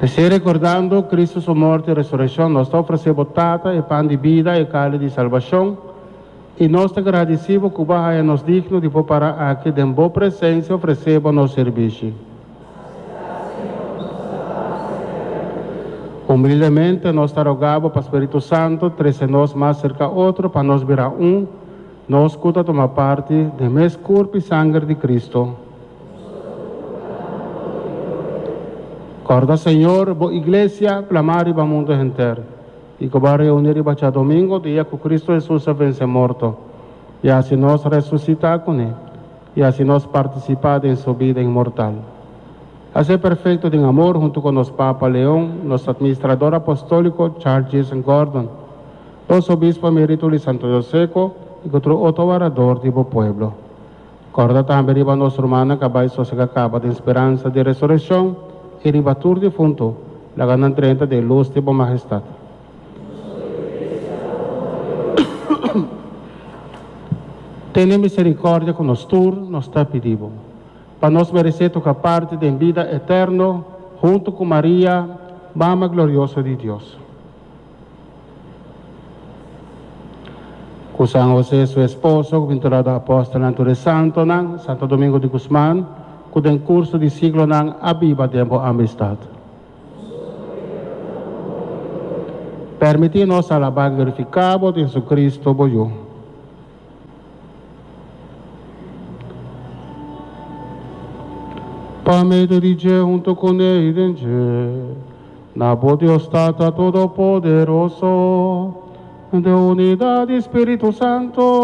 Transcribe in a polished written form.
P'esei, rekordando Kristu su morto i resurekshon, nos ta ofresé bo Tata e pan di bida, e kali di salbashon, i nos ta gradisí bo ku bo a haña nos digno di por para aki den bo presensia ofresé bo nos sirbishi. Humildemente nos ta rogá bo pa Spiritu Santu trese nos mas serka otro pa nos bira un, nos ku ta tuma parti den mes kurp i sanger di Kristu. Kòrda, Señor, bo Iglesia plamá riba mundu henter, i ku bo a reuní riba djadomingo, dia ku Kristu Hesus a vense morto, i hasi nos resusitá kuné, i hasi nos partisipá den su bida inmortal. Hasié perfekto den amor huntu ku nos Papa Leon, nos Administrador Apostóliko Charles Jason Gordon, nos Obispo Emerito di Santo Joseko i ku tur otro warador di bo pueblo. Kòrda tambe riba nos rumannan ku a bai sosegá kaba den speransa di resurekshon, i riba tur difuntu, laga nan drenta den lus di bo mahestat. Tene miserikòrdia ku nos tur, nos ta pidi bo, pa nos meresé toka parti den bida eterno huntu ku Maria, Mama glorioso di Dios. Ku San José su esposo, ku binturado apòstelnan tur e santonan, Santo Domingo di Guzman, ku den kurso di siglonan a biba den bo amistat. Permití nos alabá i glorifiká bo den Jesucristo bo Yu. Pa medio di dje, hunto kuné i den dje, na bo Dios Tata Todopoderoso, den unidat di Spiritu Santo.